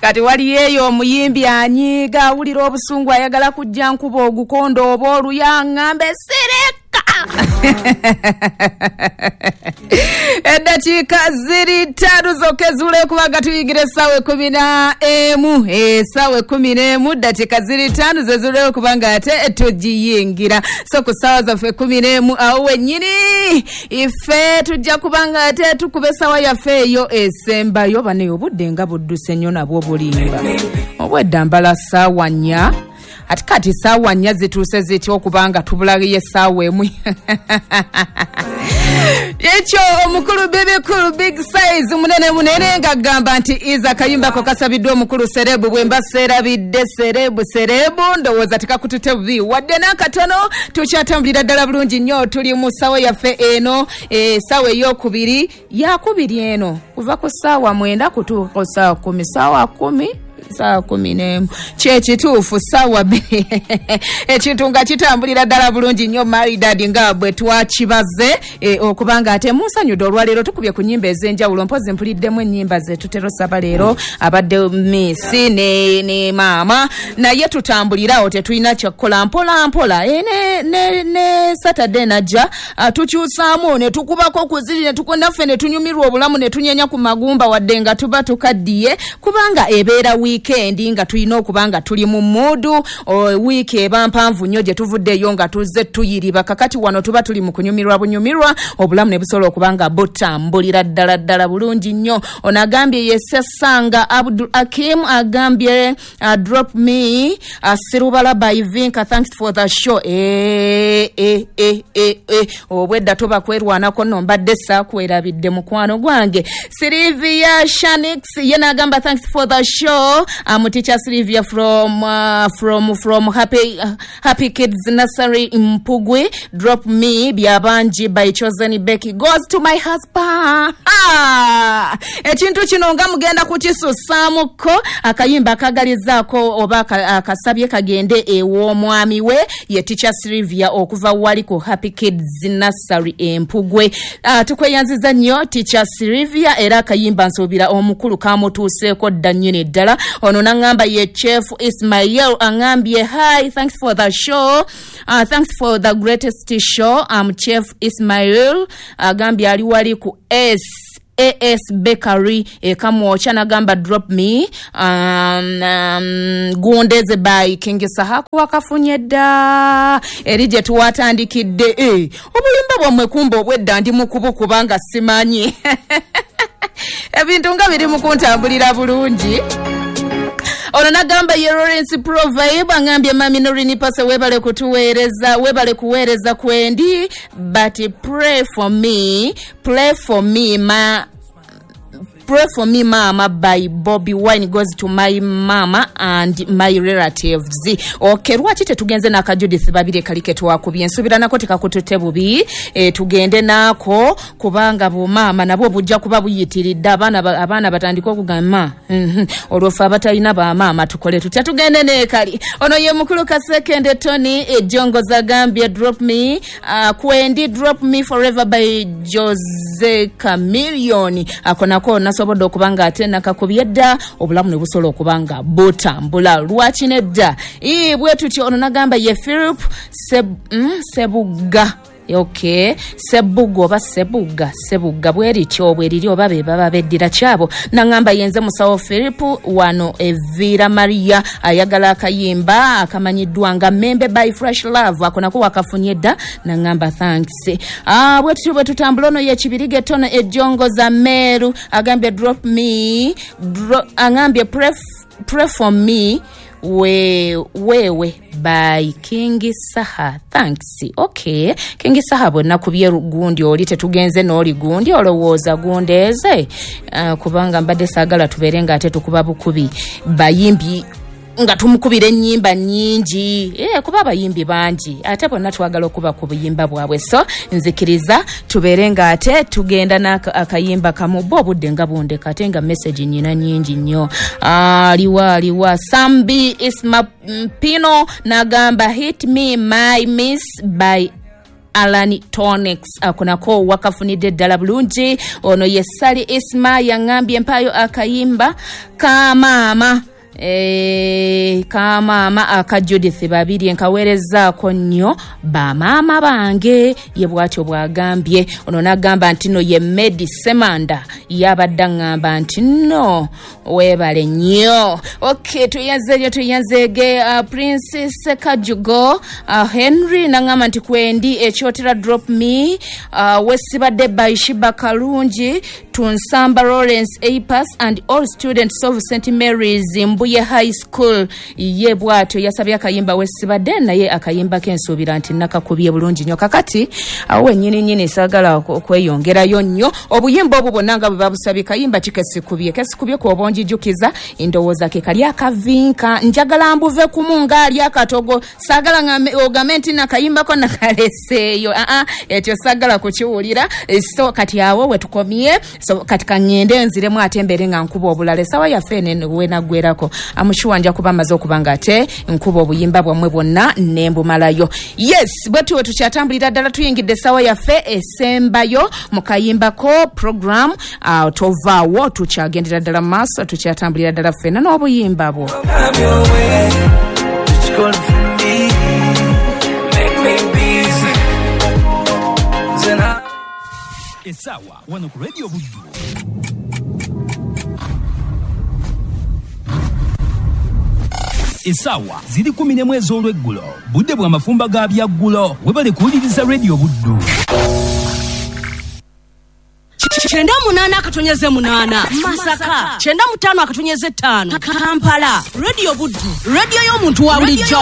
Kati waliyo eyo omuyimbi anyiiga, awulira obusungu, ayagala kujja nkuba ogukondo oba oluya, ŋŋambe sirika. Eddakiika ziri 5 zokka ezuula kubanga tuyingira essaawa 11, essaawa 11 ddakiika ziri 5 zezuuleyo kubanga ate tugiyingira. So ku ssaawa zaffe 11 awo wennyini ife tujja kubanga ate tukuba essaawa yaffe eyo esembayo. Bane obudde nga budduse nnyo, nabwo bulimba. Obwedda mbala ssaawa 4, ati kati ssaawa 4 zituuse zitya okubanga tubulayo essaawa 1? Ekyo omukulu bibikulu big size munene munene ng'agamba nti iza akayimbako kasabiddwa omukulu Serebu. Bwe mba seerabidde Serebu, Serebu ndowooza tekakutute bubi wadde n'akatono. Tukyatambulira ddala bulungi nnyo, tuli mu ssaawa yaffe eno, essaawa eyokubiri, yakubiri eno, kuva ku ssaawa 9 kutuuka ku ssaawa 10, ssaawa 10, ssaawa 11, kyekituufu, ssaawa 2. Ekintu nga kitambulira ddala bulungi nnyo maridadi nga bwe twakibaze, okubanga ate munsanyudde olwaleero tukubye ku nnyimba ez'enjawulo. Mpozi mpuliddemu ennyimba ze tutera osaba leero, abadde miisi ne maama, naye tutambulirawo, tetulina kyakukola, mpola mpola. Ne Saturday najja, tukyusaamu ne tukubako ku ziri naffe ne tunyumirwa obulamu ne tunyenya ku magumba wadde nga tuba tukaddiye, kubanga ebeera wiikendi nga tulina okuba nga tuli mu muudu. Wiiki eba mpanvu nnyo gye tuvuddeyo nga tuzze tuyiriba. Kakati wano tuba tuli mu kunyumirwa bunyumirwa, obulamu ne busobola okuba nga butambulira ddala ddala bulungi nnyo. Ono agambye yesesanga Abdul Akim, agambye drop me Sirubala by Vinka, thanks for the show. Obwedda tuba kwerwanako nno, mbadde saakwerabidde mukwano gwange. Silivia Shanix ye n'agamba thanks for the show. I'm teacher Silivia from Happy Kids Nursery Mpugwe. Drop me Byabanji by Chosen Becky goes to my husband. Ekintu kino nga mugenda kukisusaamuko, akayimba akagalizaako oba akasabye kagende ew'omwami we ye teacher Silvia okuva wali ku Happy Kids Nursery Empugwe. Tukweyanziza nnyo teacher Silvia, era akayimba nsuubira omukulu kamutuuseeko dda nnyini ddala. Ono n'aŋŋamba ye Chef Ismail, aŋŋambye hi, thanks for the show, thanks for the greatest show. I'm Chef Ismail, agambye ali wali ku S AS Bakery ekamwokya, nagamba drop me Gundeze by King Saha. Wakafunye dda eri gye tuwatandikidde. Obulimba bwammwe kumba obwedda ndi mukubu kubanga simanyi ebintu nga biri mu kuntambulira bulungi. Ono nagamba ye Lawrence Provibe, angambye mami Norini Pase webale kutuweereza, webale kuweereza kwendi, but pray for me, pray for me ma, pray for me mama by Bobby Wine goes to my mama and my relatives. Okay, lwaki tetugenze n'aka Judith Babire kali ke twakubye? Nsuubira nako tekakutute bubi. Tugende nako kubanga bumaama nabwo bujja kuba buyitiridde, abaana batandika okugamba olwo ffe abatalina bamaama tukole tutya? Tugende neekali. Ono ye mukulu Kasekende Tony Ejongoza, agambye drop me Kwendi, drop me forever by Jose Chameleone. Ako nako nasobodde okuba nga ate nakakubye dda, obulamu ne busobola okuba nga butambula. Lwaki nedda? Bwe tutyo. Ono nagamba ye Philip Sebuga. Okay, Sebuga oba Sebuga, Sebuga bwerityo bweriri oba be baba beddira kyabo. Naŋŋamba yenze musawo Philip wano Evira Maria, ayagala akayimba akamanyiddwa nga Membe by Fresh Love. Ako nako wakafunye dda, naŋŋamba thanks. Bwe tutyo bwe tutambula. Ono ye Kibirige Tono Ejongoza Meeru, agambye drop me aŋambye pray for me we wewe by King Saha, thanks. Okay, King Saha bwe nakubye gundi oli tetugenze n'oli gundi olowooza gundeeze, kubanga mbadde saagala tubeere nga ate tukuba bukubi bayimbi nga tumukubira ennyimba nnyingi, kuba abayimbi bangi ate bonna twagala okuba ku buyimba bwabwe. So nzikiriza tubeere nga ate tugenda n'akayimba kamu bo, obudde nga bundeka ate nga message nnyina nnyingi nnyo. Aliwa aliwa Sambi Isma Pino n'agamba hit me my miss by Alan Tonex ako nako wakafunidde ddala bulungi. Ono ye Sali Isma yaŋŋambye mpaayo akayimba ka maama ka maama aka Judith Babirye, nkaweerezzaako nnyo bamaama bange, ye bw'atyo bw'agambye. Ono n'agamba nti no ye Medi Semanda yabadde aŋŋamba nti no weebale nnyo. Okay, tuyanze nnyo, tuyanzeege Princess Kajugo Henry n'aŋŋamba nti kwendi ekyotera drop me wesibadde by Shiba Kalungi Tunsamba Lawrence Apas and all students of St Mary's Mbuye High School. Ye bw'atyo yasabye akayimba wesibadde, naye akayimba kensuubira nti nakakubye bulungi nnyo. Kakati awo wennyini nnyini saagala okweyongerayo nnyo. Obuyimba obwo bwonna nga bwe babusabye, kayimba ki kesikubye? Kesikubye kw'oba onjijukiza, ndowooza ke kali akavinka. Njagala mbuve kumu ng'ali akatogo, saagala ogambe nti nakayimbako nakaleseeyo. Aa, ekyo saagala kukiwulira. So kati awo we tukomye. So kati kaŋŋende nziremu ate mbeere nga nkuba obulala. Essaawa yaffe eno wenaggwerako, amushuwa nja kuba maze okuba nga ate nkuba obuyimba bwammwe bwonna ne mbumalayo. Yes, bwe tuwe tukyatambulira ddala, tuyingidde essaawa yaffe esembayo mu kayimbako program. Tovaawo, tukyagendera ddala mu maaso, tukyatambulira ddala ffenna n'obuyimba bwo. Come your way, what you gonna for me? Make me busy. Then I Essaawa wano ku Radio Buddu. Essaawa ziri 11 ez'olweggulo, budde bwa mafumba ga byaggulo. Webale kuwuliriza Radio Buddu. 98.8 Masaka, 95.5 Kampala. Radio Buddu, radio y'omuntu wa bulijjo.